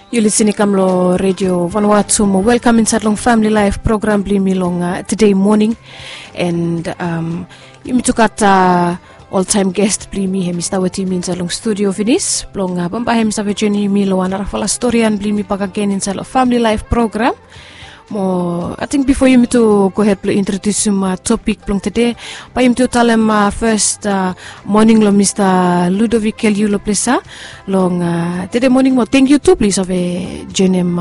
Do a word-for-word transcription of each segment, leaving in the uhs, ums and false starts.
Yu lisin i kam long redio vanua tu mo welkam insait long famili laif program blong yumi long uh, today morning. And um, yumi tu gat uh, oltaim gest blong yumi hem i stap wetem yumi insait long studio finis blong uh, bambae hem i save joinim yumi long wan narafala storian blong yumi bak agen insait long famili laif program. Mo ating bifo yumi tu gohed blong introdiusim topik blong tede, bae yumi tu talem fes moning long mista Ludovic Keliu long plesa long tede moning. Mo tengkiu tu blong yu save joinim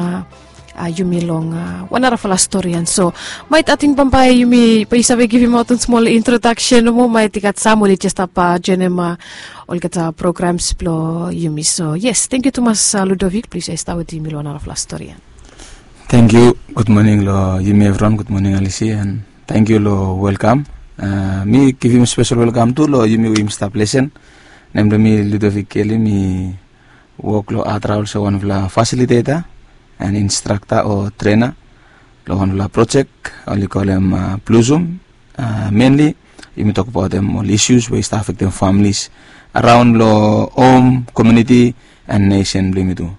yumi long wan narafala storian. So maet ating bambae yumi bae yu save givimaot wan smol introdaksen nomo, maet i gat sam oli jes stap joinim olgeta programs blong yumi. So yes, tengkiu tumas Ludovic blong yu save stap wetem yumi long wan narafala storian. Tengkiu. Gud moning long yumi evriwan. Gud moning Alisi, and tengkiu long welkam. Mi givim spesel welkam tu long yumi we yumi stap lesen. Nem blong mi Ludovic Keli, mi wok long Adra olsem wanfala fasiliteta and instrakta o trena long wanfala projek oli kolem Blossom. Menli yumi tokbaotem ol isius we i stap afektem familis araon long hom, komiuniti, and nesen blong yumi tu.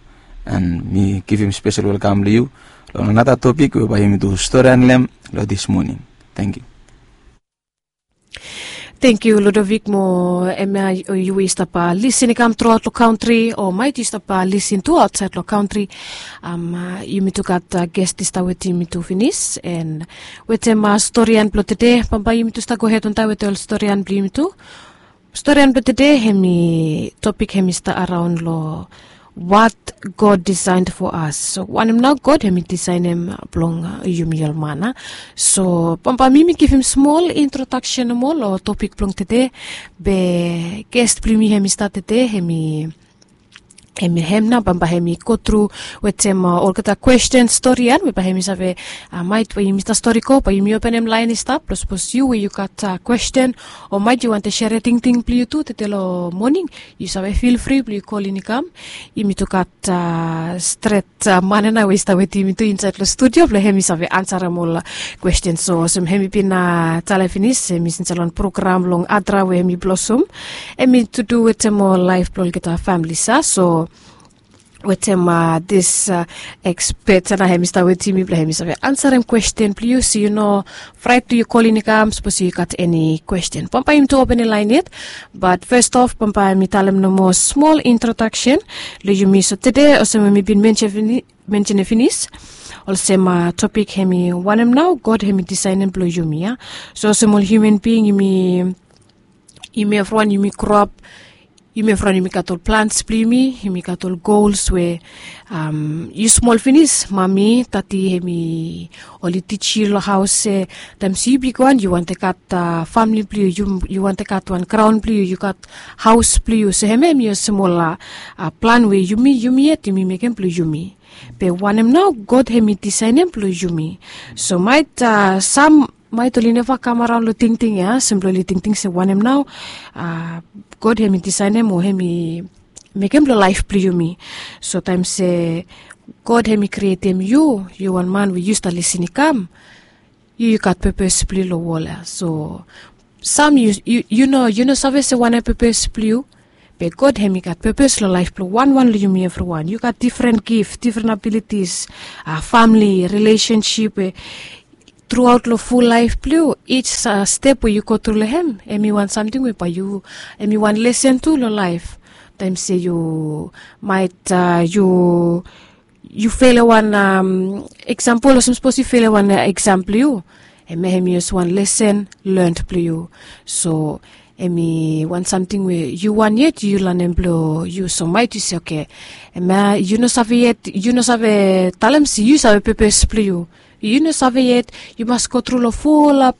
And mi givim spesel welkam long yu long anata topik we bae yumi tu storian long hem long dis moning. Tengkiu. Tengkiu Ludovic. Mo hemia yu we yu stap lisin i kam truaot long kantri o maet yu stap lisin tu aotsaed long kantri, yumi tu gat gest i stap wetem yumi tu finis. And wetem storian blong tede, bambae yumi tu stap gohed wantaem wetem ol storian blong yumi tu. Storian blong tede hem i topik hem i stap araon long what God designed for us. So wanem nao God hem i disaenem blong yumi ol man a. So bambae mi mi givim smol introdaksen nomo long topik blong tede. Be gest blong yumi hem i stap tede hem i hem i hem nao bambae hem i gotru wetem olgeta kwesten storian we bae hem i save, maet we yumi stap stori go bae yumi openem laen i stap blong sapos yu we yu gat kwesten o maet yu wantem sere tingting blong yu tu tede long moning, yu save filfri blong yu kolin i kam. Yumi tu gat stret man ya nao we i stap wetem yumi tu insaed long studio blong hem i save ansarem ol kwesten. So olsem hem i bin talem finis hem i insaed long program long Adra we hem i Blossom, hem i tu du wetem ol laef blong olgeta famili sa. So wetem dis ekspet ya nao hem i stap wetem yumi blong hem i save ansarem kwesten blong yu. So yu no fraet blong yu kolin i kam sapos yu gat eni kwesten. Bambae yumi tu openem laen yet. Bat fes of bambae mi talem nomo smol introdaksen long yumi. So tede olsem we mi bin mensenem finis, olsem topik hem i wanem nao God hem i disaenem blong yumi ya. So olsem ol hiuman bing yumi, yumi evriwan yumi groap, yumi evriwan yumi gat ol plans blong yumi, yumi gat ol gols we yu smol finis mami, dadi hem i oli tij yu long haos se taem se yu bigwan yu wantem gat famili blong yu, yu wantem gat wan graon blong yu, yu gat haos blong yu. So hemia hem i olsem ol plan we yumi, yumi yet yumi mekem blong yumi. Be wanem nao God hem i disaenem blong yumi. So maet sam maet oli neva kam araon long tingting ya olsem blong oli tingting se wanem nao God hem i disaenem o hem i mekem long laef blong yumi. So taem se God hem i krietem yu, yu wan man we yu stap lisin i kam, yu yu gat pepes blong yu long wol ya. So sam yu, yu no, yu no save se wanem pepes blong yu. Be God hem i gat pepes long laef blong wanwan long yumi evriwan. Yu gat difren gif, difren abilitis, famili, rilesensip we truaot long ful laef blong yu, ij step we yu gotru long hem hem i wan samting we bae yu, hem i wan lesen tu long laef. Taem se yu maet yu yu fele wan eksampol, olsem sapos yu fele wan eksam blong yu, hemia hem i olsem wan lesen learnt blong yu. So hem i wan samting we yu wan yet yu lanem blong yu. So maet yu se oke, hemia yu no save yet, yu no save talem se yu save pepes blong yu. Yu no save yet, yu mas gotru long fulap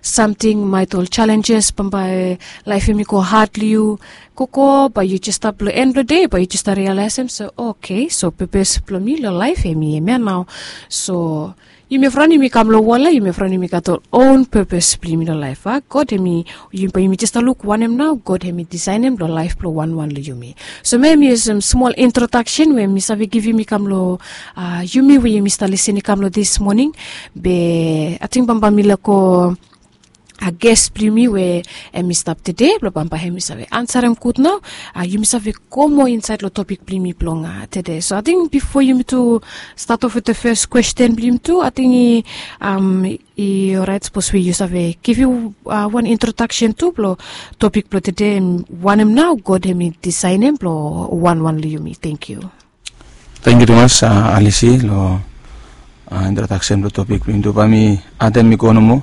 samting, maet ol jalenjes bambae laef hem i go had long yu. Gogo bae yu jes stap long en blong dei bae yu jes stap rialaesem se oke, so pepes blong mi long laef hem i hemia nao. So yumi evriwan yumi kam long wol ya, yumi evriwan yumi gat ol own pepes blong yumi long laef a. God hem i, bae yumi jes stap luk wanem nao God hem i disaenem long laef blong wanwan long yumi. So hemia hem i olsem smol introdaksen we mi save givim i kam long yumi we yumi stap lisin i kam long dis moning. Be ating bambae mi laek go a ges blong yumi we em i stap tede blong bambae em i save ansarem gud nao. Yumi save go moa insaed long topik blong yumi blong tede. So ating bifo yumi tu stat of wit the fes kwesten blong yumi tu, ating i oraet sapos we yu save givim wan introdaksen tu blong topik blong tede, wanem nao God em i disaenem blong wanwan long yumi. Tengkiu. Tengkiu tumas, Alisi, long introdaksen blong topik blong yumi tu. Bae mi adem i go nomo.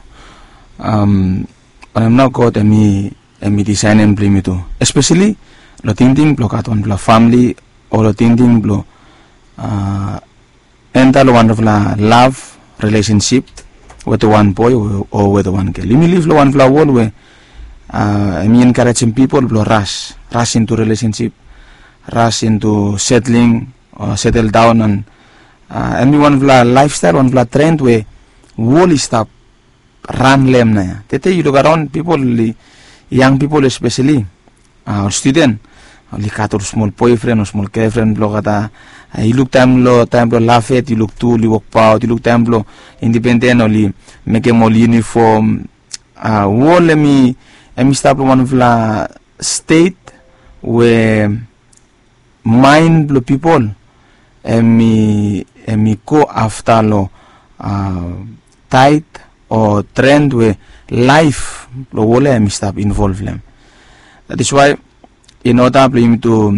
Wanem nao God em i disaenem blong yumi tu, espeseli long tingting blong gat wanpela famili, o long tingting blong enta long wanpela lav rilesensip wetem wan boe o wetem wan gel. Yumi liv long wanpela wol we em i enkarejem pipol blong ras, ras intu rilesensip, ras intu setling o setel daon. An em i wanpela laefstael, wanpela tren we wol i stap ran long em nao ya. Tete yu luk araon, pipol, yang pipol espeseli, ol studen, oli gat ol smol boefren o smol gefren blong olgeta. Yu luk taem long, taem blong lafet, yu luk tu oli wokbaot, yu luk taem blong indipenden oli mekem ol yunifom. Wol em i, em i stap long wanpela stet we maen blong pipol em i, em i go afta long taet o tren we laef blong wol ya em i stap involv long em. That is why in order blong yumi tu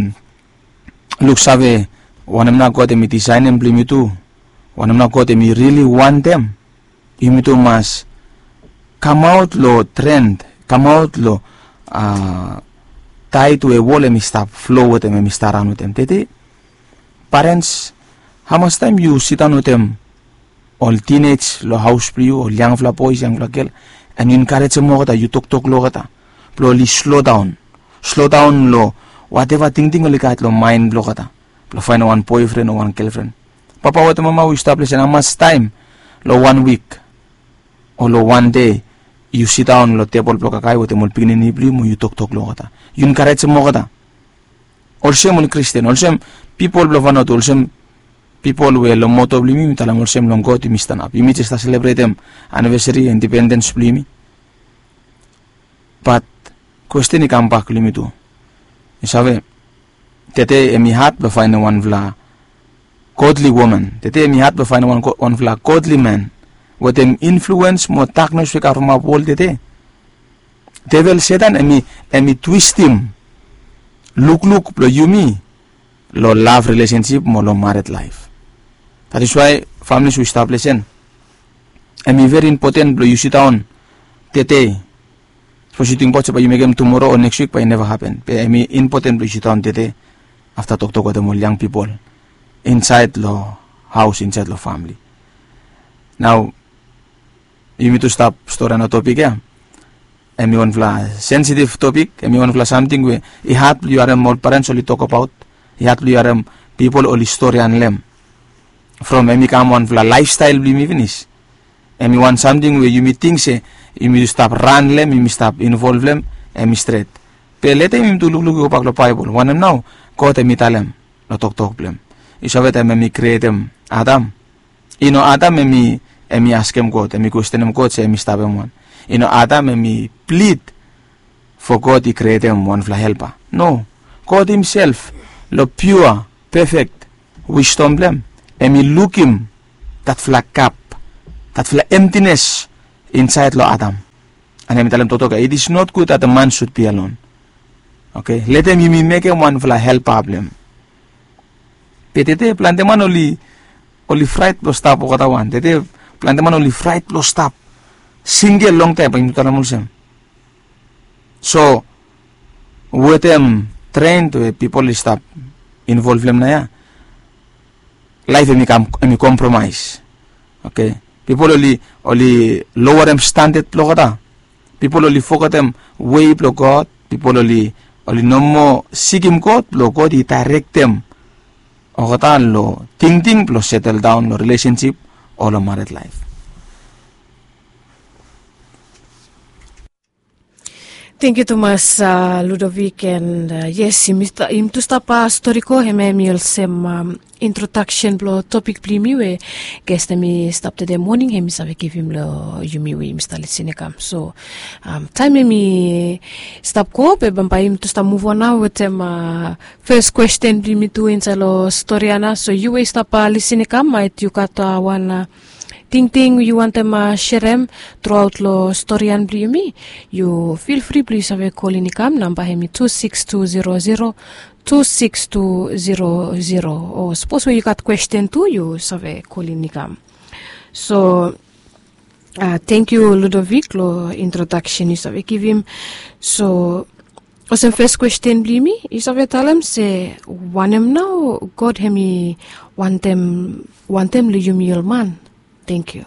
luksave wanem nao God em i disaenem blong yumi tu, wanem nao God em i rili wantem, yumi tu mas kamaot long tren, kamaot long taet we wol em i stap flo wetem, em i stap raon wetem. Tete, parens, hamas taem yu sindaon wetem ol tinej long haos blong yu, ol yangfala boes, yangfala gel, and yu enkarejem olgeta, yu toktok long olgeta blong oli slodaon, slodaon long wateva tingting oli gat long maen blong olgeta blong faenem wan boefren o wan gelfren. Papa wetem mama we yu stap lesen, hamas taem long wan wik o long wan dei yu sindaon long tebol blong kakae wetem ol pikinini blong yu mo yu toktok long olgeta, yu enkarejem olgeta? Olsem ol Kristen, olsem pipol blong Vanuatu, olsem pipol we long moto blong yumi, yumi talem olsem long God yumi stanap. Yumi jes stap selebretem anivesari indipendens blong yumi. Bat kwesten i kambak long yumi tu. Yu save, tede em i had blong faenem wanfala godly woman. Tede em i had blong faenem wan, wanfala godly man wetem influens mo daknes we i kavremap wol tede. Devel Setan em i, em i twistim lukluk blong yumi long lav rilesensip mo long mared laef. That is why, families we yu stap lesen, em i veri impoten blong yu sindaon tede. Sapos yu tingbaot se bae yu mekem tumoro o neks wik, bae i neva hapen. Be em i impoten blong yu sindaon tede afta toktok wetem ol yang pipol insaed long haos, insaed long famili. Nao yumi tu stap storian long topik ya. Em i wanfala sensitiv topik, em i wanfala samting we i had blong yu harem ol parens oli tokbaot, i had blong yu harem pipol oli storian long em. From em i kam wanfala laefstael blong yumi finis. Em i wan samting we yumi ting se yumi stap ran long em, yumi stap involv long em, em i stret. Be leta yumi tu lukluk i gobak long Baebol, wanem nao God em i talem long toktok blong em. Yu save, taem em i krietem Adam, i no Adam em i, em i askem God, em i kwestenem God se em i stap hem wan. I no Adam em i plid fo God i krietem wanfala helpa. No. God himself, long piua, pefek wisdom blong em, em i lukim datfala gap, datfala emtines insaed long Adam. And em i talem toktok ya, "It is not good that the man should be alone." Oke, letem yumi mekem wanfala helpa blong em. Be tede plante man oli, oli fraet blong stap olgeta wan. Tede plante man oli fraet blong stap singel longtaem, bae yumi talem olsem. So wetem tren we pipol i stap involv long em nao ya, laef em i kam, em i kompromaes. Oke, pipol oli, oli lowerem standard blong olgeta. Pipol oli fogetem wei blong God. Pipol oli, oli no moa sikim God blong God i daerektem olgeta long tingting blong setel daon long rilesensip o long mared laef. Thank you tumas, Ludovic, and yes, yumi tu stap stori go, hemia hemi olsem introdaksen blong topik blong yumi we ges hemi stap tede moning hemi save givim long yumi we yumi stap lisin i kam. So taem hemi stap go be bambae yumi tu stap muv on nao wetem fes kwesten blong yumi tu insaed long stori ya nao. So yu we yu stap lisin i kam, maet yu gat wan tingting yu wantem serem truaot long stori ya blong yumi, yu fil fri blong yu save kolin i kam. Namba hemi tu siks tu zero zero tu siks tu zero zero. O sapos we yu gat kwesten tu yu save kolin i kam. So thank you Ludovic long introdaksen yu save givim. So olsem fes kwesten blong yumi, yu save talem se wanem nao God hemi wantem long yumi ol man? Thank you.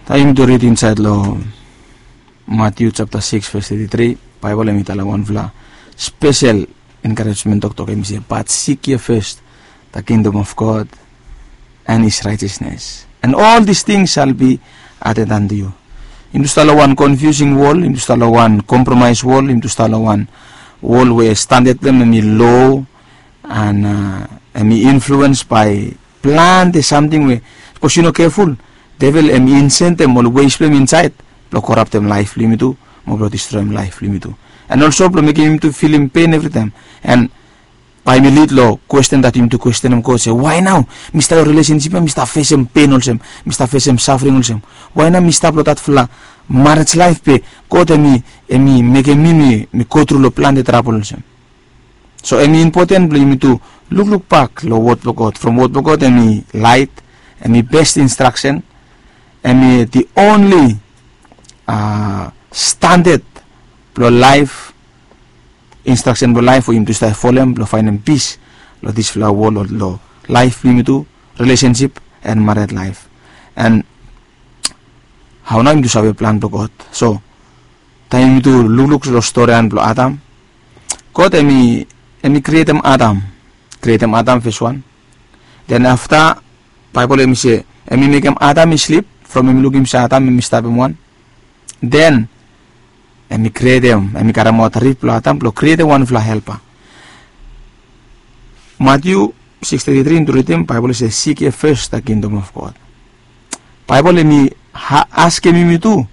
Taem yumi tu rid insaed long Matiu japta siks ves teti tri, Baebol hemi talem wanfala spesel enkarejmen toktok, hemi se, but seek ye first the kingdom of God and his righteousness, and all these things shall be added unto you. Yumi tu stap long wan confusing wol, yumi tu stap long wan compromise wol, yumi tu stap long wan wol we standad blong hem hemi low, and hemi influence by plante samting we sapos yu no keful, devel hemi insentem ol wes blong hem insaed blong koraptem laef blong yumi tu mo blong distroem laef blong yumi tu, and olso blong mekem yumi tu filim pen evritaem. And bae mi lid long kwesten dat yumi tu kwestenem God se, wae nao mi stap long rilesensip ya mi stap fesem pen olsem, mi stap fesem safring olsem? Wae nao mi stap long datfala marej laef be God hemi mekem mi mi gotru long plante trabol olsem? So hemi impoten blong yumi tu lukluk bak long wod blong God. From wod blong God hemi laet, hemi bes instraksen, hemi the only standad blong laef, instraksen blong laef we yumi tu stap folem blong faenem pis long disfala wol, long laef blong yumi tu, rilesensip and mared laef. And hao nao yumi tu save plan blong God? So taem yumi tu lukluk long storian blong Adam, God hemi krietem Adam, krietem Adam fes wan. Den afta Baebol hemi se hemi mekem Adam i slip, from hemi lukim se Adam hemi stapem wan. Den hemi krietem, hemi karemaot rif blong Adam blong krietem wanfala helpa. Matiu siks teti tri yumi tu ridim, Baebol i se, seek ye first the kingdom of God. Baebol hemi askem yumi tu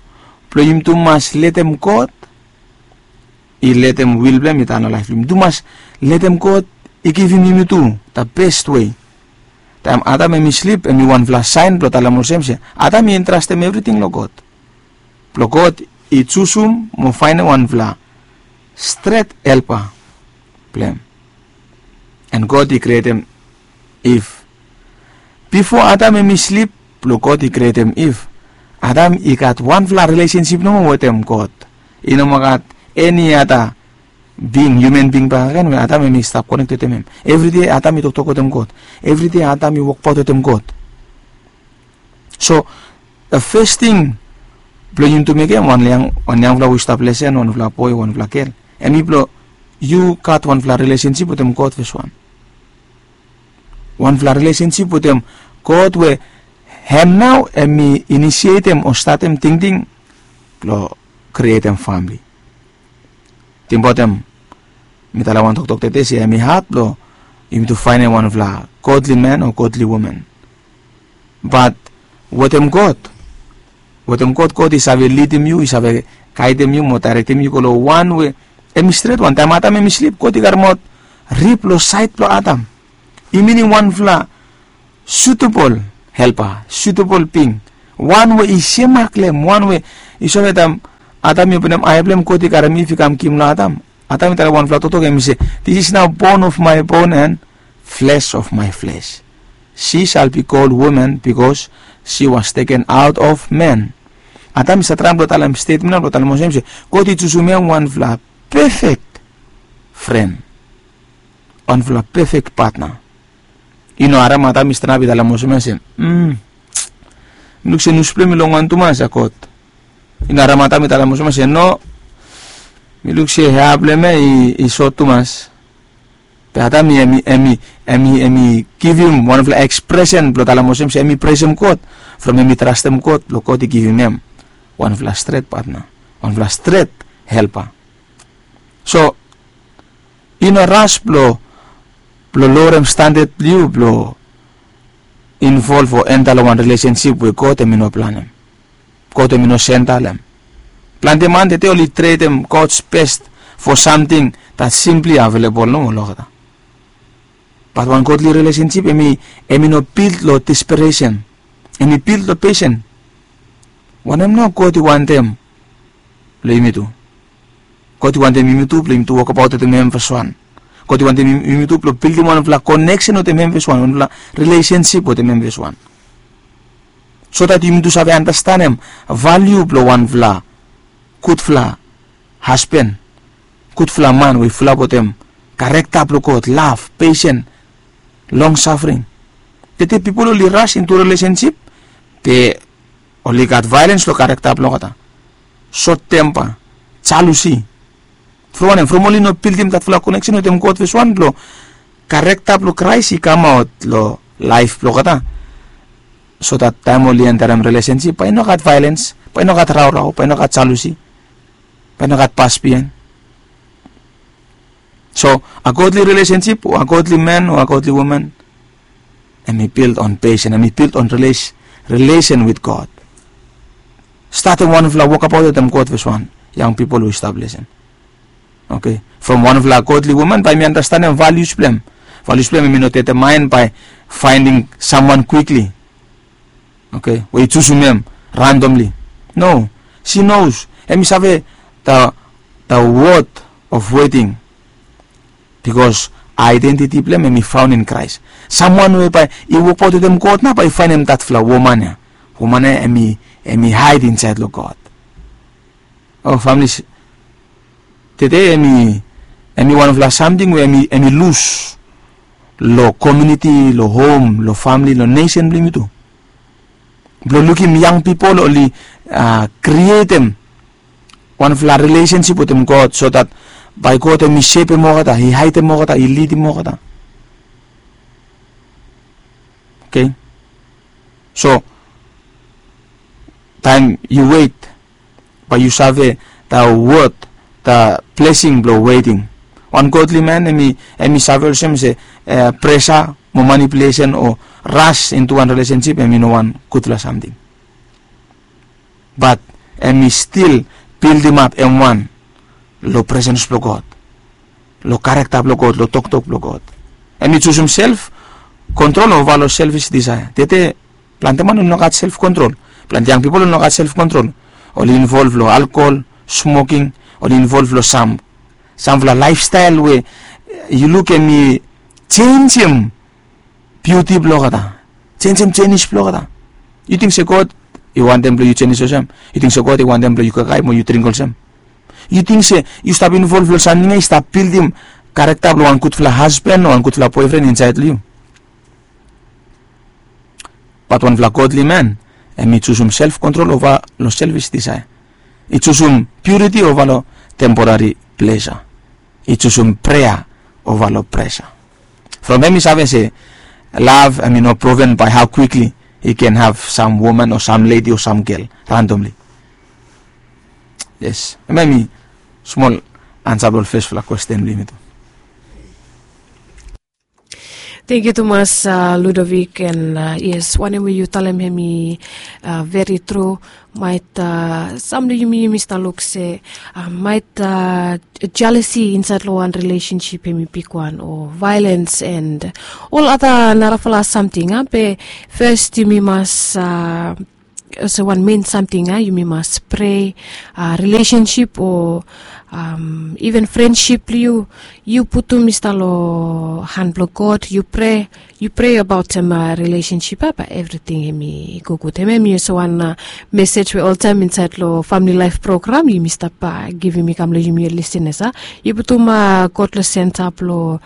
blong yumi tu mas letem God i letem wil blong hem i tan long laef blong yumi. Yumi tu mas letem God i givim yumi tu the best way. Taem Adam hemi slip hemi wanfala saen blong talem olsem se Adam i entrastem evriting long God, blong God i jusum mo faenem wanfala stret helpa blong hem. And God i krietem Iv. Bifo Adam hemi slip blong God i krietem Iv, Adam i gat wanfala rilesensip nomo wetem God. I no moa gat eni ada bing, hiuman bing bakegen we Adam hemi stap konek wetem hem. Evride Adam i toktok wetem God. Evride Adam i wokbaot wetem God. So fes ting blong yumi tu mekem, wan yangfala we i stap lesen, wanfala boe, wanfala gel, hemi blong yu gat wanfala rilesensip wetem God fes wan. Wanfala rilesensip wetem God we hem nao hemi inisietem o statem tingting blong krietem famle. Tingbaot hem, mi talem wan toktok tede se hemi had blong yumi tu faenem wanfala godly man o godly woman. Bat wetem God, wetem God, God i save lidim yu, i save gaedem yu mo daerektem yu go long wan we hemi stret wan. Taem Adam hemi slip, God i karemaot rif long saed blong Adam. I minim wanfala sutebol helpa, sutebol bing, wan we i semak long hem, wan we i save, taem Adam i openem ae blong hem, God i karem Iv i kam givim long Adam. Adam i talem wanfala toktok, hemi se, this is now bone of my bone and flesh of my flesh. She shall be called woman because she was taken out of man. Adam i save traem blong talem stetmen ya blong talem olsem se God i jusum hem wanfala pefek fren, wanfala pefek patna. I no harem Adam i stanap i talem olsem ya se, mm, mi luk se nus blong hem i longwan tumas ya God. I no harem Adam i talem olsem ya se, no, mi luk se hea blong hem ya i sot tumas. Be Adam i, hemi, hemi, hemi, hemi givim wanfala ekspresen blong talem olsem se hemi presem God, from hemi trastem God blong God i givim hem wanfala stret patna, wanfala stret helpa. So i no ras blong blong lowrem standad blong yu blong involv o enta long wan rilesensip we God em i no planem. God em i no senta long em. Plante man tete oli tredem God's best for samting that simply avelebol nomo long olgeta. Bat wan godli rilesensip em i em i no bild long desperesen. Em i bild long pesen. Wanem nao God i wantem long yumi tu? God i wantem yumi tu blong yumi tu wokabaot wetem hem feswan. God i wantem yumi tu blong bildim wanfala koneksen wetem hem feswan, wanfala rilesensip wetem hem feswan, so dat yumi tu save anastanem valiu blong wanfala gudfala hasban, gudfala man we i fulap wetem karekta blong God, lav, pesen, long safring. Tete pipol oli ras intu rilesensip be oli gat vaelens long karekta blong olgeta, sot tempa, jalusi. From wanem? From oli no bildim datfala koneksen wetem God feswan blong karekta blong Kraes i kamaot long laef blong olgeta, so dat taem oli enterem rilesensip bae i no gat vaelens, bae i no gat raorao, bae i no gat jalusi, bae i no gat pas biaen. So a godly relationship o a godly man o a godly woman, em i bild on pesen, em i bild on relation with God. Statem wanfala wokabaot wetem God feswan, yang pipol we i stap lesen. Oke, from wanfala godly woman bae mi anastanem valius blong em. Valius blong em em i no determaen bae faenem samwan kwikli, oke, we i jusum em randomli. No, si nos em i save da da wod of weting. Bikos aedentiti blong em em i faon in Kraes. Samwan we bae i wokbaot wetem God nao bae i faenem datfala woman ya. Woman ya em i em i haed insaed long God. O famili, tede em i em i wanfala samting we em i em i lus long komiuniti, long hom, long famili, long nesen blong yumi tu. Blong lukim yang pipol oli a krietem wanfala rilesensip wetem God, so dat bae God em i sepem olgeta, i haedem olgeta, i lidim olgeta. Oke, so taem yu wet bae yu save da wod, da blesing blong weting. Wan godli man em i em i save olsem se presa mo manipulesen o ras intu wan rilesensip em i no wan gudfala samting. Bat em i stil bildimap em wan long presens blong God, long karekta blong God, long toktok blong God. Em i jusum self kontrol ova long selfis disaea. Tete plante man oli no gat self kontrol. Plante yang pipol oli no gat self kontrol. Oli involv long alkol, smoking, oli involv long sam samfala laefstael we yu luk em i jenjem biuti blong olgeta, jenjem jenis blong olgeta. Yu ting se God i wantem blong yu jenis olsem? Yu ting se God i wantem blong yu kakae mo yu dring olsem? Yu ting se yu stap involv long samting ya i stap bildim karekta blong wan gudfala hasban o wan gudfala boefren insaed long yu? Bat wanfala godli man em i jusum self kontrol ova long selfis disaea. I jusum piuriti ova long temporari plesa. I jusum prea ova long presa. From em i save se lav em i no proven bae hao kwikli i ken hav sam woman o sam ledi o sam gel randomli. Yes, em em i smol ansa blong ol fesfala kwesten blong yumi tu. Tengkiu tumas Ludovik, and yes, wanem we yu talem hem i veri tru. Maet sam blong yumi yumi stap luk se maet jealousy insaed long wan relationship hem i bigwan o violence and ol ada narafala samting a be first yumi mas olsem wan men samting a yumi mas prea relationship o even friendship blong yu, yu putum i stap long han blong God, yu prea, yu prea abaot em relationship a bae evriting hem i go gud. Hem hem i olsem wan mesej we oltaem insaed long famili laef program yumi stap givim i kam long yumi ol lisenas a. Yu putum God long senta blong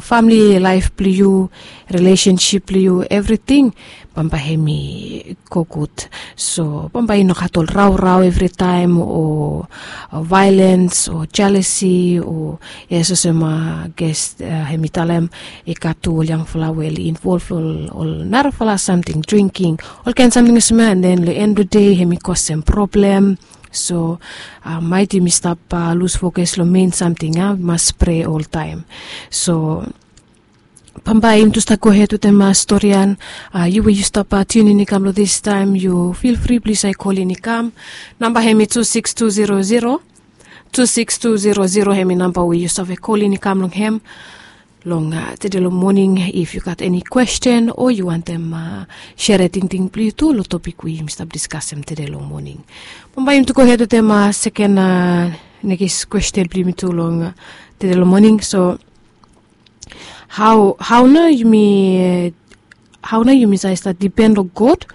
famili laef blong yu, relationship blong yu, evriting. bambae hem i go gud. So bambae i no gat ol raorao evritaem o vaelens o jealosi o, yes, olsem ges hem i talem, i gat tu ol yangfala we oli involv long ol narafala samting, drinking, olkaen samting olsem ya, and then long end blong dei hem i kosem problem. So maet yumi stap lus fokas long mein samting ya, mas prea oltaem. So bambae yumi tu stap gohed wetem storian. Yu we yu stap tiunin i kam long distaem, yu fil fri plis, yu kolin i kam. Namba hem i tu sikis tu zero zero, tu sikis tu zero zero hem i namba we yu save kolin i kam long hem long tede long moning, if yu gat eni kwesten o yu wantem sere tingting blong yu tu long topik we yumi stap diskasem tede long moning. Bambae yumi tu gohed wetem seken nekis kwesten blong yumi tu long tede long moning. So hao, hao nao yumi, hao nao yumi save stap dipen long God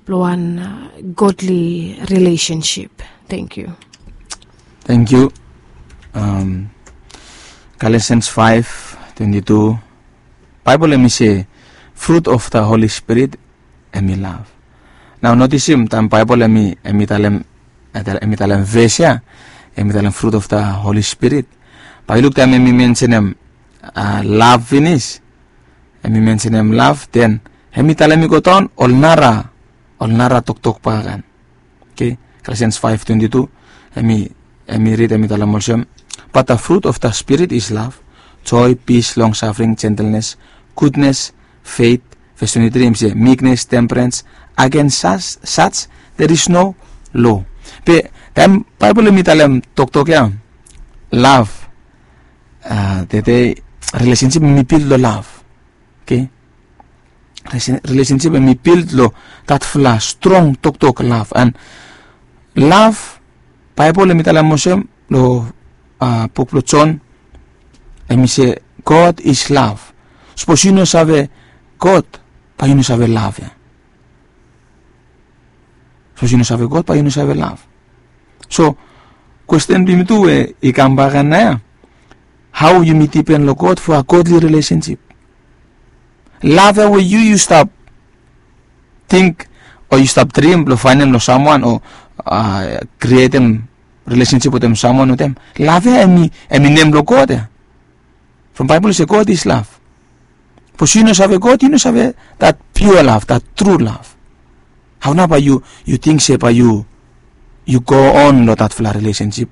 blong wan godly relationship? Thank you. Thank you. Galatians five twenty-two, Baebol hem i se fruit of the Holy Spirit hem i love. Nao notisim taem Baebol hem i talem, hem i talem ves ya, hem i talem fruit of the Holy Spirit, bae yu luk taem hem i mensenem love finis, hem i mensenem love, then hem i talem i go daon ol nara, ol nara toktok bakegen. Okay, Galatians five twenty-two, hem i rid, hem i talem olsem, but the fruit of the Spirit is love, joy, peace, long suffering, gentleness, goodness, faith. Ves twenty-three hem i se meekness, temperance, against such, such there is no law. Be taem Baebol hem i talem toktok ya, love, tede relationship hem i bild long love. Okay, relationship hem i bild long datfala strong toktok love. And love, Baebol hem i talem olsem long buk blong Jon, hem i se God is love. Sapos yu no save God, bae yu no save love ya. Sapos yu no save God, bae yu no save love. So kwesten blong yumi tu we i kam bakegen nao ya, hao yumi dipen long God for a godly relationship? Love ya we yu, yu stap ting o yu stap drim blong faenem long samwan o krietem relationship wetem samwan wetem, love ya hem i, hem i nem blong God ya. From Baebol i se God is love. Sapos yu no save God, yu no save that pure love, that true love. Hao nao bae yu, yu ting se bae yu, yu go on long datfala relationship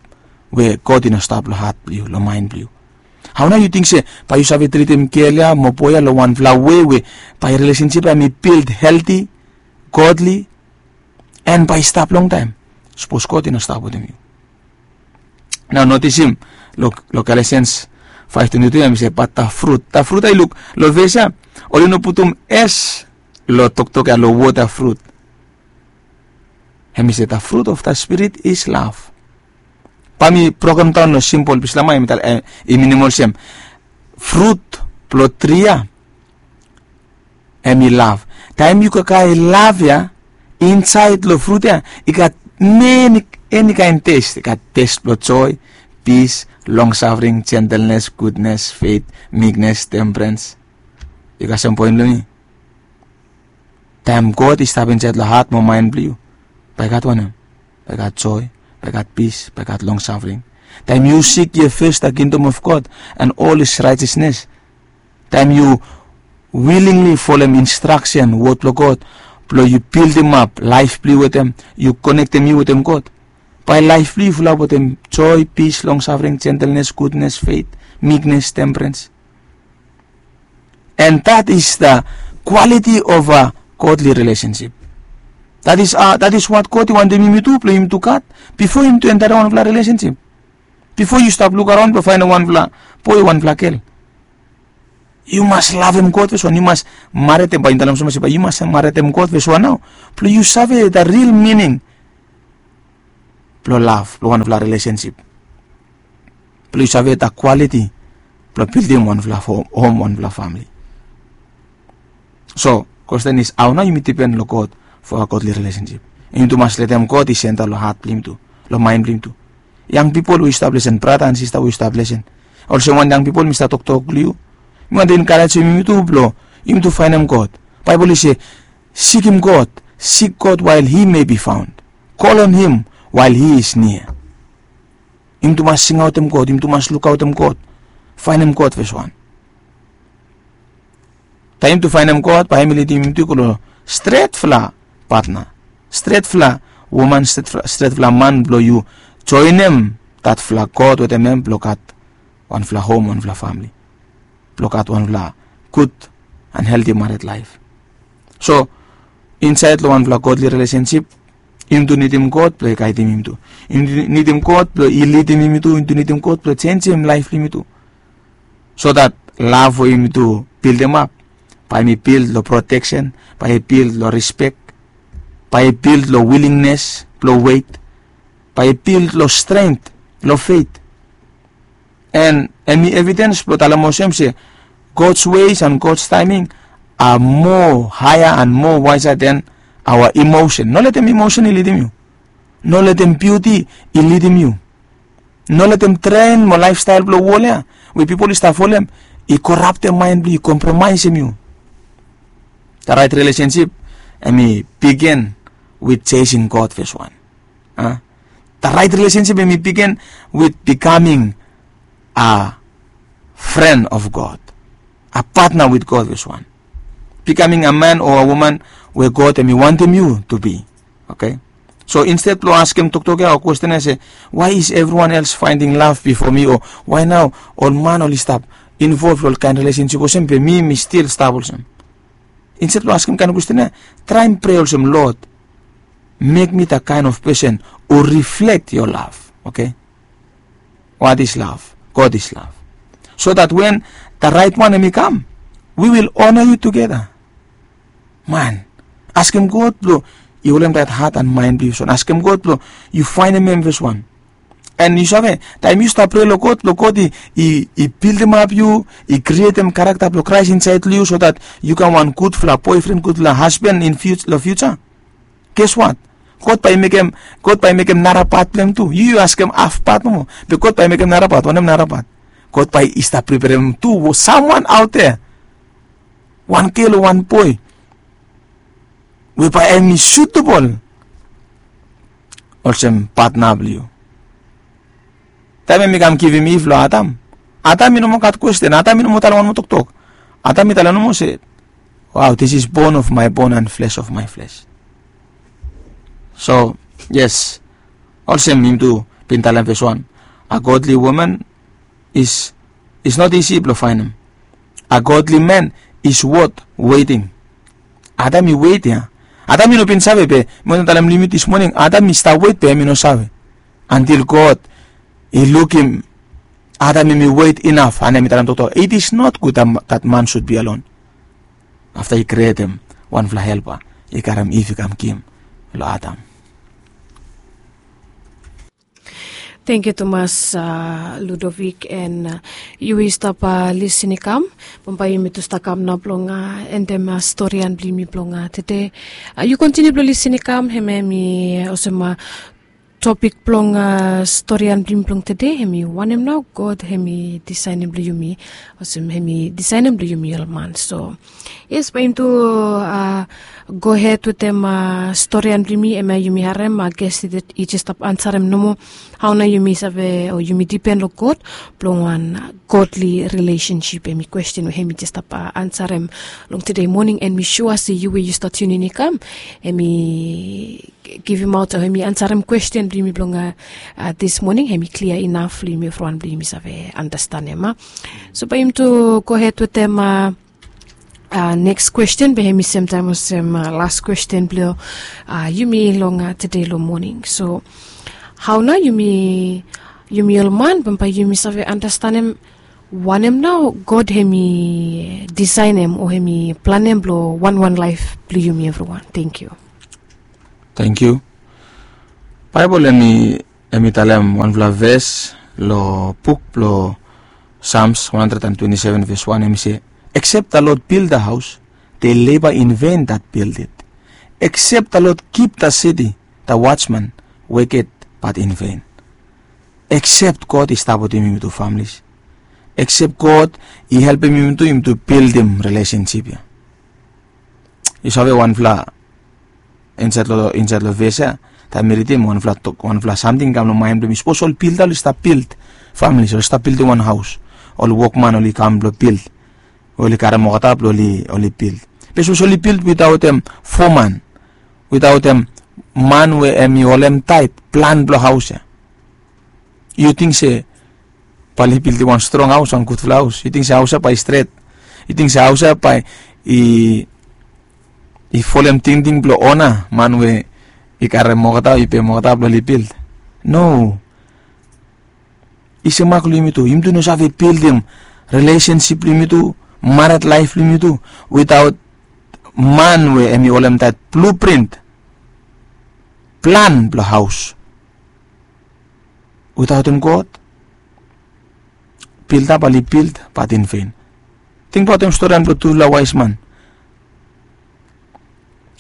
we God i no stap long hat blong yu, long maen blong yu? Hao nao yu ting se bae yu save tritim gel ya mo boe ya long wanfala wei we bae relationship ya hem i bild healthy, godly, and bae i stap longtaem, sapos God i no stap wetem yu? Nao notisim long, long Galatians five twenty-two hem i se, but the fruit, the fruit ya, yu luk long ves ya, oli no putum S long toktok ya, long wod ya fruit. Hem i se the fruit of the Spirit is love. Bae mi broken daon long simpol pis long maen, hem i talem, hem i minim olsem, frut blong tri ya hem i lav. Taem yu kakae lav ya, insaed long frut ya i gat meni, eni kaen tes. I gat tes blong joe, pis, longsafring, jentelnes, gudnes, fet, miknes, temperens. Yu kasem poen blong mi? Taem God i stap insaed long hat mo maen blong yu, bae i gat wanem? Bae i gat joe, bae i gat pis, bae i gat longsafring. Taem yu sik ye fes the kingdom of God and all his righteousness, taem yu willingly folem instraksen, wod blong God, blong yu bildimap laef blong yu wetem, yu konektem yu wetem God, bae laef blong yu i fulap wetem joe, pis, longsafring, jentelnes, gudnes, fet, miknes, temperens. And that is the quality of a godly relationship. That is, uh, that is what God i wantem yumi tu, blong yumi tu gat bifo yumi tu entaem wanfala relationship. Bifo yu stap lukaraon blong faenem wanfala boe, wanfala gel, yu mas lavem God fes. Yu mas maretem, bae yu talem olsem se bae yu mas maretem God fes nao, blong yu save the real meaning blong lav, blong wanfala relationship, blong yu save the quality blong bildim wanfala hom, wanfala famili. So kwesten is, hao nao yumi dipen long God for a godly relationship? Yumi tu mas letem God i senta long hat blong yumi tu, long maen blong yumi tu. Yang pipol we yu stap lesen, brata and sista we yu stap lesen, olsem wan yang pipol mi stap toktok long yu, mi wantem enkarejem yumi tu blong yumi tu faenem God. Baebol i se, Sikim God, seek God while he may be found. Call on him while he is near. Yumi tu mas singaotem God, yumi tu mas lukaotem God. Faenem God, ves wan. Taem yumi tu faenem God, bae hem i lidim yumi tu i go long stretfala patna, stretfala woman, stretfala man blong yu joenem datfala God wetem hem blong gat wanfala hom, wanfala famili, blong gat wanfala gud and healthy married life. So insaed long wanfala godly relationship, yumi tu nidim God blong i gaedim yumi tu. Yumi tu nidim God blong i lidim yumi tu. Yumi tu nidim God blong i jenisim laef blong yumi tu, so dat lav we yumi tu bildemap, bae hem i bild long proteksen, bae i bild long rispek, bae i bild long wilingnes blong wet, bae i bild long strengt, long fet. And hem i evidens blong talem olsem se God's ways and God's timing are more higher and more wiser than our emotion. No letem emotion i lidim yu. No letem biuti i lidim yu. No letem tren mo laefstael blong wol ya we pipol i stap folem i koraptem maen blong yu, i kompromaesem yu. The right relationship hem i begin with chasing God, ves wan. The right relationship hem i begin with becoming a friend of God, a partner with God, ves wan. Becoming a man or a woman we God hem i wantem yu to be. Okay. So instead blong askem toktok ya o kwesten ya se, why is everyone else finding love before me, o why nao ol man oli stap involve long ol kaen relationship olsem be mi mi stil stap olsem? Instead blong askem kaen kwesten ya, traem prea olsem, Lord, make me the kind of person who reflect your love. Okay. What is love? God is love. So that when the right one hem i kam, we will honor you together. Man, askem God blong i holem that heart and mind blong yu, ves wan. Askem God blong yu faenem hem, ves wan. And yu save, taem yu stap prea long God blong God i bildemap yu, i krietem karakta blong Kraes insaed long yu, so that yu kam wan gudfala boefren, gudfala hasban in long fiuja. Guess what? God bae i mekem, God bae i mekem nara pat blong hem tu. Yu yu askem haf pat nomo, be God bae i mekem nara pat. Wanem nara pat? God bae i stap preperem tu samwan aot dea, wan gel o wan boe we bae hem i sutebol olsem patna blong yu. Taem hem i kam givim Iv long Adam, Adam i no moa gat kwesten. Adam i no moa talem wan moa toktok. Adam i talem nomo se, wow, this is bone of my bone and flesh of my flesh. So yes, olsem yumi tu bin talem, ves wan, a godly woman is is not easy blong faenem. A godly man is worth waiting. Adam i wet ya. Adam i no bin save, be mi wantem talem long yumi dis moning, Adam i stap wet be hem i no save, antil God i lukim Adam hem i wet inaf, and hem i talem toktok, it is not good that man should be alone. Afta i krietem wanfala helpa, i karem Iv i kam givim long Adam. Tangkiu tumas, Ludovic, and yu we yu stap lisin i kam. Bambae yumi tu stap kam nao blong endem storian blong yumi blong tede. Yu kontiniu blong lisin i kam, hemia hemi olsem topik blong storian blong yumi blong tede, hemi wanem nao God hemi disaenem blong yumi, olsem hemi disaenem blong yumi ol man. So yes, bae yumi tu gohed wetem storian blong yumi, hemia yumi harem ges i jes stap ansarem nomo hao nao yumi save o yumi dipen long God blong wan godly relationship, hemi kwesten we hemi jes stap ansarem long tede moning. And mi sua se yu we yu stap tiunin i kam, hemi givimaot o hemi ansarem kwesten blong yumi blong dis moning, hemi klia inaf long yumi evriwan blong yumi save andastanem. So bae yumi tu gohed wetem neks kwesten, be hemi semtaem olsem las kwesten blong yumi long tede long moning. So hao nao yumi, yumi ol man, bambae yumi save andastanem wanem nao God hemi disaenem o hemi planem blong wanwan laef blong yumi evriwan. Tangkiu. Tangkiu. Baebol hemi hemi talem wanfala ves long buk blong Psalms one hundred and twenty-seven verse one, hemi se, except the Lord build the house, they labor in vain that build it. Except the Lord keep the city, the watchman waketh but in vain. Except God i stap wetem yumi tu, families. Except God i helpem yumi tu, yumi tu bildim relationship ya. Yu save wanfala insaed long insaed long ves ya, taem mi ridim wanfala tok wanfala samting i kam long maen blong mi. Sapos ol bilda oli stap bild, familis oli stap bildim wan haos, ol wokman oli kam blong bild, we oli karem olgeta blong oli bild. Be sapos oli bild witaotem foman, witaotem man we hem i holem taet plan blong haos ya, yu ting se bae oli bildim wan strong haos, wan gudfala haos? Yu ting se haos ya bae i stret? Yu ting se haos ya bae i i folem tingting blong ona man we i karem olgeta o i pem olgeta blong oli bild? No. I semak long yumitu, yumitu no save bildim rilesensip blong yumitu, mared laef blong yumitu, witaot man we hem i holem taet bluprint, plan blong haos. Witaotem God, bilda bae oli bild bat in ven. Tingbaotem storian blong tufala waes man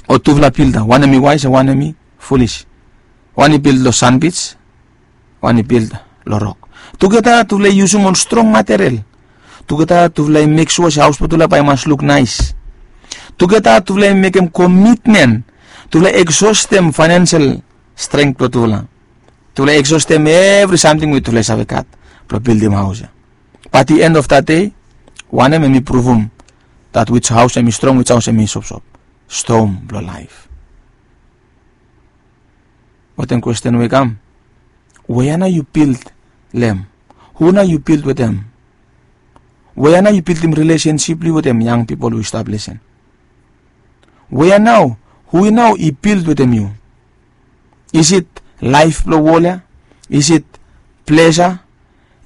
o tufala bilda, wanem i waes o wanem i folis. Wan i bild long sanbij, wan i bild long rok. Tugeta tufala i yusum ol strong material. Tugeta tufala i mek sua se haos blong tufala bae i mas luk naes. Tugeta tufala i mekem komitmen. Tufala i eksostem faenensel strength blong tufala. Tufala i eksostem evri samting we tufala i save gat blong bildim haos ya. Bat the end of that day, wanem hem i pruvum dat wij haos hem i strong, wij haos hem i sopsop? Stom blong laef. Wetem kwesten we i kam, wea nao yu bild long hem? Hu nao yu bild wetem? Wea nao yu bildim rilesensip blong yu wetem, yang pipol we yu stap lesen? Wea nao, hu nao i bild wetem yu? Is it laef blong wol ya? Is it plesa?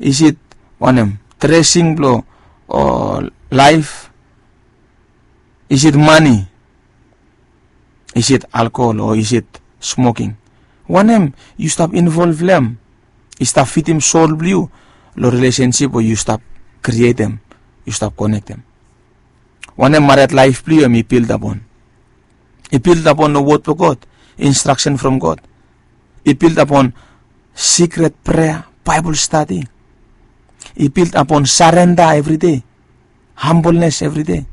Is it wanem, dresing blong, o laef? Is it mane? Is it alkohol o is it smoking? Wanem yu stap involv long hem i stap fidim sol blong yu long rilesensip we yu stap krietem, yu stap konektem? Wanem mared laef blong yu hem i bild apon? I bild apon long wod blong God, instraksen from God? I bild apon sikret prea, Baebol stadi? I bild apon sarenda evridei, hambolnes evridei?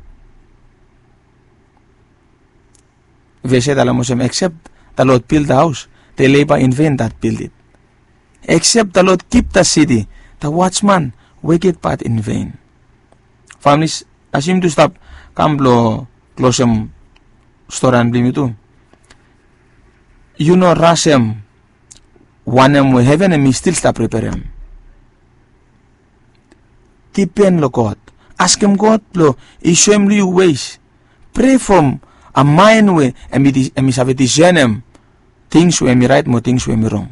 Ves ya i talem olsem, except the Lord build the house, they labor in vain that build it. Except the Lord keep the city, the watchman waketh but in vain. Familis, as yumitu stap kam blong klosem storian blong yumitu, yu no rasem wanem we heven hemi stil stap preperem. Dipen long God. Askem God blong i soem long yu ways. Prea from a mind we hemi save disenem tings we hemi raet mo tings we hemi rong.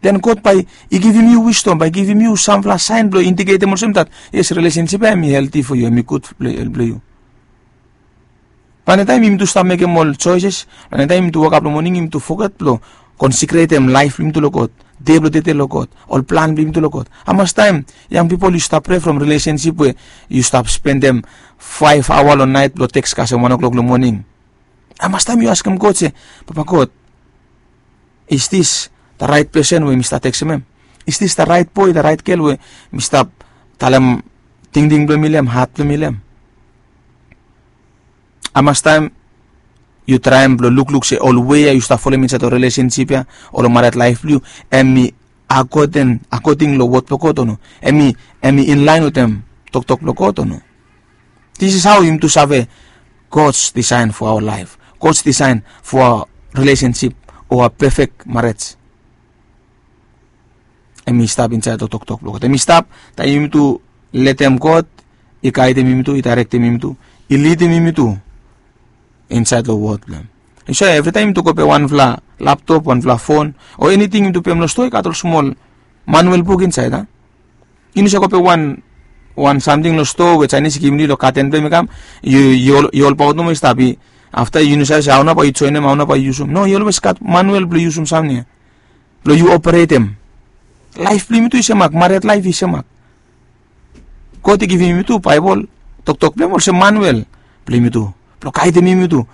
Den God bae i givim yu wisdom, bae i givim yu samfala saen blong indiketem olsem dat, yes, rilesensip ya hemi helti fo yu, hemi gud blong yu. Plante taem yumitu stap mekem ol joeses, plante taem yumitu wokap long moning, yumitu foget blong konsekretem laef blong yumitu long God, dei blong dede long God, ol plan blong yumitu long God. Hamastaem, yang pipol, yu stap prea from rilesensip we yu stap spendem faef aoa long naet blong teks kasem wan o'clock long moning? Hamastaem yu askem God se, Papa God, is this the right person we mi stap teksem hem? Is this the right boy, the right girl we mi stap talem tingting blong mi long hem, hat blong mi long hem? Hamastaem yu traem blong lukluk se ol wei ya yu stap folem insaed long rilesensip ya o long mared laef blong yu, hemi akoding long wod blong God o no? Hemi inlaen wetem toktok blong God o no? This is how yumitu save God's design for our life, God's design for our relationship o a pefek marej. Hemi stap insaed long toktok blong God. Hemi stap taem yumitu letem God i gaedem yumitu, i daerektem yumitu, i lidim yumitu insaed long wod blong hem. Yu save, evritaem yumitu go pem wanfala laptop, wanfala fon o eniting yumitu pem long stoa, i gat ol smol manuel buk insaed, a? Yu no save go pem wan, wan samting long stoa we Jaenis i givim yu long gaden blong hem i kam, yu, yu holbaot nomo, i stap. Afta yu no save se hao nao bae yu joenem, hao nao bae yu yusum. No, i olwes gat manuel blong yusum samting ya blong yu operetem. Laef blong yumitu i semak, mared laef i semak. God i givim yumitu Baebol, toktok blong hem olsem manuel blong yumitu, blong gaedem yumitu,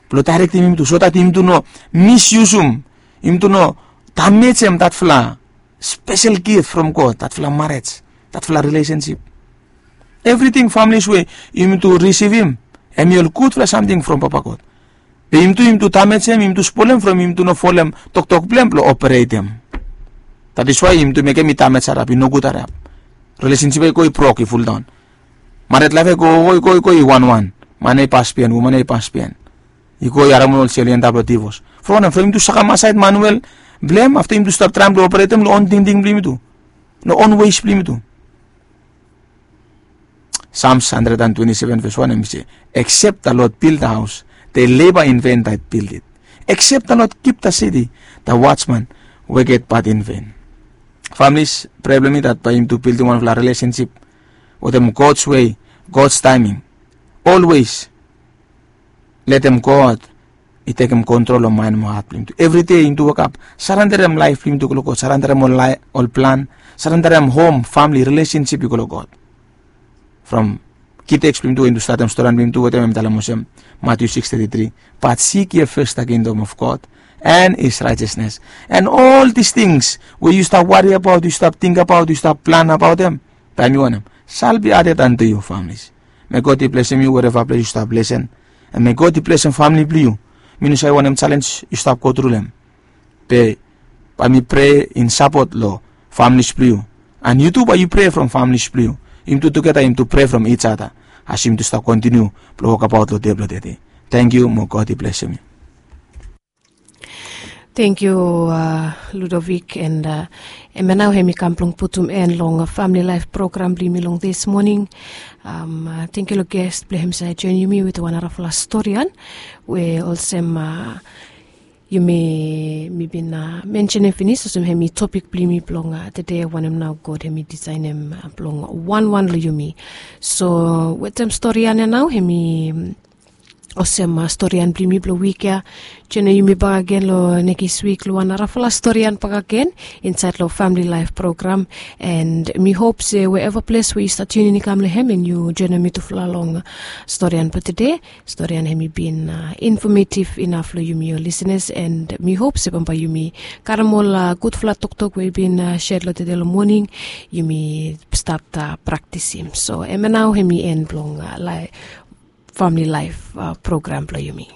blong daerektem yumitu, so dat yumitu no misyusum, yumitu no damejem datfala spesel gif from God, datfala marej, datfala rilesensip. Evriting, familis, we yumitu risivim, hemi ol gudfala samting from Papa God. Be yumi tu yumi tu damejem, yumi tu spolem from yumi tu no folem toktok blong hem blong operetem. That is why yumi tu mekem i damej harap, i nogud harap. Rilesensip ya i go i brok, i fuldaon. Mared laef ya i go i go i go i wanwan. Man ya i pas biaen, woman ya i pas biaen. I go i harem ol sel i antap long divos. From wanem? From yumi tu sakem asaed manuel blong hem, afta yumi tu stap traem blong operetem long on tingting blong yumi tu, long on weis blong yumi tu. Psalms hundred and twenty-seven verse one, hem i se, "Except the Lord build the house, they labor in vain that build it. Except the Lord keep the city, the watchman waketh but in vain." Families, prea blong mi that bae yumi tu bildim wanfala rilesensip wetem God's way, God's timing. Always letem God i tekem kontrol long maen mo hat blong yumi tu. Evri dei yumi tu wokap, sarenderem laef blong yumi tu go long God, sarenderem ol plan, sarenderem hom, famili, rilesensip i go long God. From ki teks blong yumi tu we yumi tu statem storian blong yumi tu wetem hem i talem olsem, Matthew six thirty-three, "But seek ye first the kingdom of God and his righteousness, and all these things we yu stap wari abaot, yu stap ting abaot, yu stap plan abaot hem, taem yu wantem, shall be added unto you." Families, me God i blesem yu wereva ples yu stap lesen, and me God i blesem famili blong yu. Mi no save wanem jalenj yu stap gotru long hem, be bae mi prea in sapot long familis blong yu, and yu tu bae yu prea from familis blong yu. Yumi tu tugeta yumi tu prea from each other as yumi tu stap kontiniu blong wokabaot long dei blong tede. Tangkiu, mo God i blesem yu. Tangkiu, Ludovic, and hemia nao hemi kam blong putum en long famili laef program blong yumi long dis moning. Tangkiu long ges blong hem i save joenem yumi wetem wan narafala storian we olsem yumi, mi bin mensenem finis olsem hemi topik blong yumi blong tede, wanem nao God hemi disaenem blong wanwan long yumi. So wetem storian ya nao hemi olsem storian blong yumi blong wik ya. Joenem yumi bakegen long nekis wik long wan narafala storian bakegen insaed long famili laef program. And mi hop se wherever ples we yu stap tiunin i kam long hem and yu joenem mitufala long storian blong tede. Storian hemi bin infamativ inaf long yumi ol lisenas, and mi hop se bambae yumi karem ol gudfala toktok we i bin sed long tede long moning, yumi stat praktisim. So hemia nao hemi en blong famili laef program blong yumi.